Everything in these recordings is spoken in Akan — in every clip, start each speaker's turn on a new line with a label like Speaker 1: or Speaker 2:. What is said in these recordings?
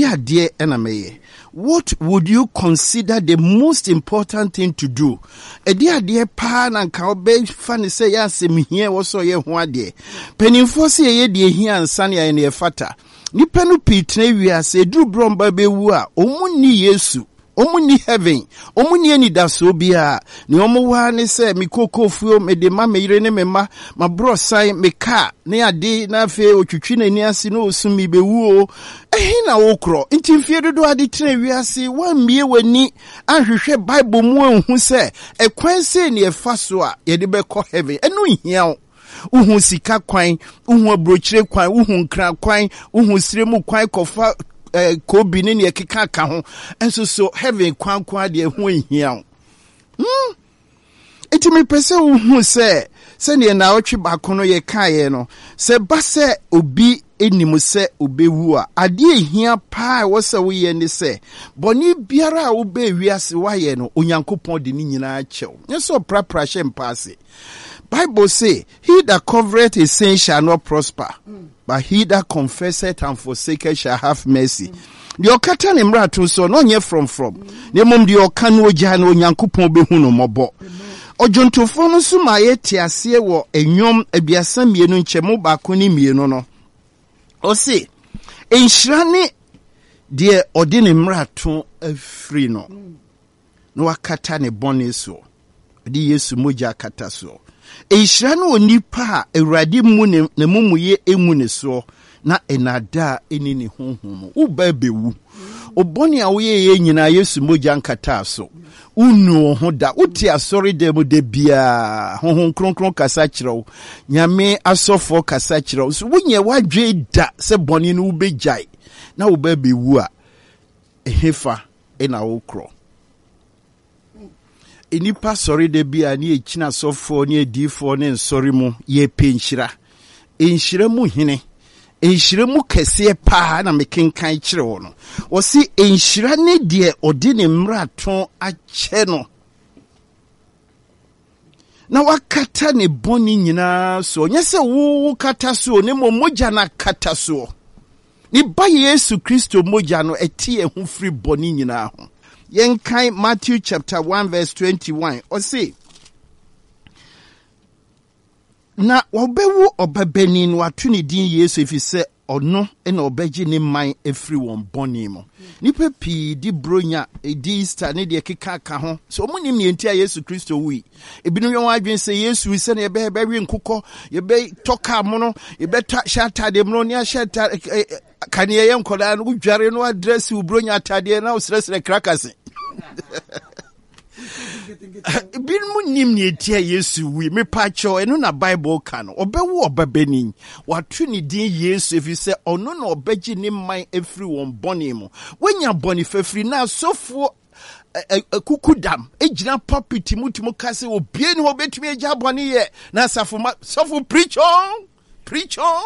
Speaker 1: Ɛdeɛ adeɛ na mɛyɛ? What would you consider the most important thing to do? Ɛdeɛ adeɛ paa na nka wobɛfa no sɛ ɛyɛ asɛm hia ɛwɔ sɛ ɔyɛ ho adeɛ? Mpanimfoɔ sɛ yɛyɛ deɛ ɛhia ansa na yɛayɛ deɛ ɛfata. Nnipa no pii tena wiase, ɛduru berɛ a wɔba bɛwu a, wɔn nni Yesu. Wɔn nni heaven, wɔn nni anidasoɔ biara. Nea wɔn wɔ ara ne sɛ, me kookoo mede ma me yere ne me mma, m'aborɔsan, me kaa, ne ade, na afei ɔtwitwi n'ani ase na ɔsu, merebɛwu o. Ɛhe na wokorɔ? Nti mfeɛ dodoɔ a de tena wiase, woammue w'ani anhwehwɛ Bible mu anhu sɛ ɛkwan sei na yɛfa so a yɛde bɛkɔ heaven. Ɛno nhia wo. Wohu sika kwan, wohu aburokyire kwan, wohu nkran kwan, wohu sire mu kwan kɔfa eh, kobi ne nea ɛkeka ka ho. Nso so heaven kwan ko adeɛ ho nhia wo. Hmm? Nti mepɛ sɛ wohu sɛ sɛdeɛ naawɔtwe baako no yɛkaeɛ no, sɛ ba sɛ obi nim sɛ obewu a, adeɛ ehia paa ɛwɔ sɛ woyɛ ne sɛ bɔne biara a wobɛɛ wiase woayɛ no, Onyankopɔn de ne nyinaa kyɛw. Nyɛ sɛ ɔprapra hyɛ mpa ase. Bible se, He that covereth his sin shall not prosper, but he that confesseth and forsaketh shall have mercy. Deɛ ɔkata ne mmarato soɔ no ɔnyɛ frɔmfrɔm, na mmom deɛ ɔka no ogyaa no Onyankopɔn bɛhu no mmɔbɔ. Ɔdwontofoɔ no nso ma yɛte aseɛ wɔ Nnwom 32 nkyɛmu baako ne mmienu no. Ɔse, Nhyira ne deɛ ɔde ne mmarato afiri no. na wakata ne bɔne soɔ. Ɔde Yesu mogya akata soɔ. Nhyira ne onipa a Awurade mmu ne n'amumuyɛ ngu ne soɔ na nnaadaa nni ne honhom mu. Wo ba bɛwu. Wo bɔne a woyɛeɛ nyinaa Yesu mogya nkataa so. Wonnu wo ho da. Wote asɔredan mu da biara. Honhom Kronkron kasa kyerɛ wo. Nyame asɔfoɔ kasa kyerɛ wo. So wonyɛ w'adwene da sɛ bɔne no wobɛgyae na wo ba bɛwu a, ɛhefa na wokorɔ? Nnipa sɔre da bi a ne yɛkyina asɔfoɔ ne adiyifoɔ ne nsɔre mu yɛpɛ nhyira. Nhyira mu hene, nhyira mu kɛseɛ paa na mekenkan kyerɛ wɔ no. Wɔse nhyira ne deɛ ɔde ne mmarato akyɛ no na wakata ne bɔne nyinaa soɔ. Nyɛ sɛ wo kata soɔ, ne mmom mogya no akata soɔ. Ne Ba Yesu Kristo mogya no ɛte yɛn ho firi bɔne nyinaa ho. Yɛnkan Matthew chapter 1 verse 21. Ɔse, na wɔbɛwo ɔbabanin na wɔato ne din Yesu ɛfiri sɛ ɔno na ɔbɛgye ne man afiri wɔn bɔne mu. Nnipa pii di Buronya, di Easter ne deɛ ɛkeka ka ho. Sɛ wɔn nim nea nti a Yesu Kristo wui. Ebinom yɛ wɔn adwene sɛ Yesu wui sɛnea yɛbɛyɛ yɛbɛwe nkokɔ, yɛbɛtɔ kaa mono, yɛbɛtɔ hyɛ ataadeɛ mono ne ahyɛ ataade kaneɛ yɛ nkɔdaa no wodware no adrɛse wo Buronya ataadeɛ na wosrɛsrɛ krakase. Binom nim nea enti a Yesu wui. Mepakyɛw, ɛno na Bible ka no. Ɔbɛwo ɔbabanin. Wɔato ne din Yesu efisɛ ɔno na ɔbɛgye ne man afiri wɔn bɔne mu. Woanya bɔne fafiri na asɔfoɔ akukudam gyina pulpit mu tumi ka sɛ obie ne hɔ obetumi agya bɔne yɛ na asafo ma sɔfo preach on preach on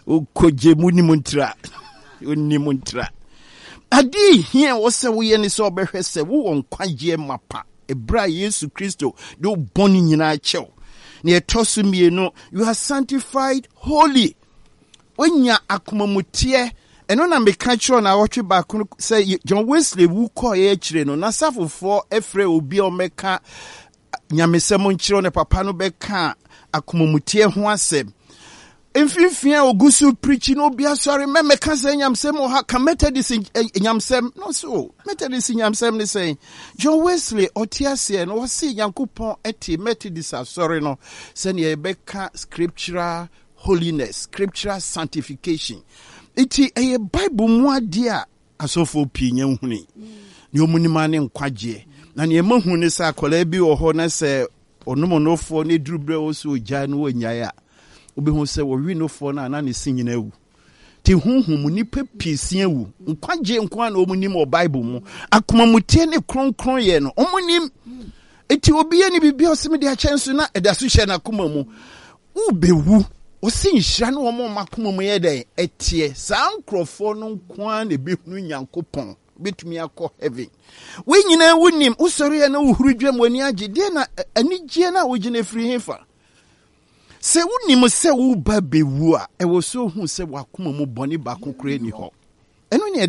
Speaker 1: okogye mu nim ntira onim ntira adeɛ hia wɔ sɛ woyɛ ne sɛ ɔbɛhwɛ sɛ wowɔ nkwagyeɛ mapa ɛberɛ a Yesu Kristo de wo bɔne nyinaa kyɛw na ɛtɔ so mmienu, you are sanctified holy. Wonya akomamuteɛ. Ɛno na meka kyerɛ na awɔtwe baako sɛ John Wesley wu kɔeɛ akyire no, n'asafofoɔ frɛ obi a ɔmmɛka nyamesɛm nkyerɛ ne papa no bɛka akomamuteɛ ho asɛm. Mfimfini a ogu so pirikyi no obi asɔre mɛmɛka sɛ nyamsɛm wɔ ha ka Methodist eh, nyamsɛm no so Methodist nyamsɛm ne sɛn John Wesley ɔte aseɛ no ɔse Nyankopɔn te Methodist asɔre no sɛnea yɛbɛka scriptural holiness, scriptural sanctification. Nti ɛyɛ Bible mu adeɛ a asɔfoɔ pii nya nhunui. Nea wɔn nim ara ne nkwagyeɛ. Na nea ɛma hu ne sɛ akwadaa bi wɔ hɔ na sɛ ɔnom nofoɔ na ɛduru berɛ wɔ sɛ ɔgyae no wɔnyae a, wobɛhu sɛ wɔwe nofoɔ no a na ne se nyina awu. Te honhom mu nnipa pii se awu. Nkwagyeɛ nko ara na wɔn nim wɔ Bible mu. Akomamuteɛ ne kronkronyɛ no wɔn nim. Eti obi yɛ ne biribi a ɔsɛ mede akyɛ nso na ɛda so hyɛ n'akoma mu. Wobɛwu. Ɔse nhyira ne wɔn a wɔn akoma mu yɛ dɛn? Ɛteɛ. Saa nkurɔfoɔ no nko ara na ɛbɛhunu Nyankopɔn, bɛtumi akɔ heaven. Wei nyinaa wonim, wosɔre a na wohuru dwam, w'ani agye. Deɛ na anigyeɛ no a wogyina firi hefa? Sɛ wonim sɛ woreba bɛwu a, ɛwɔ sɛ wohu sɛ w'akoma mu bɔne baako koraa nni hɔ. Ɛno ne yɛde.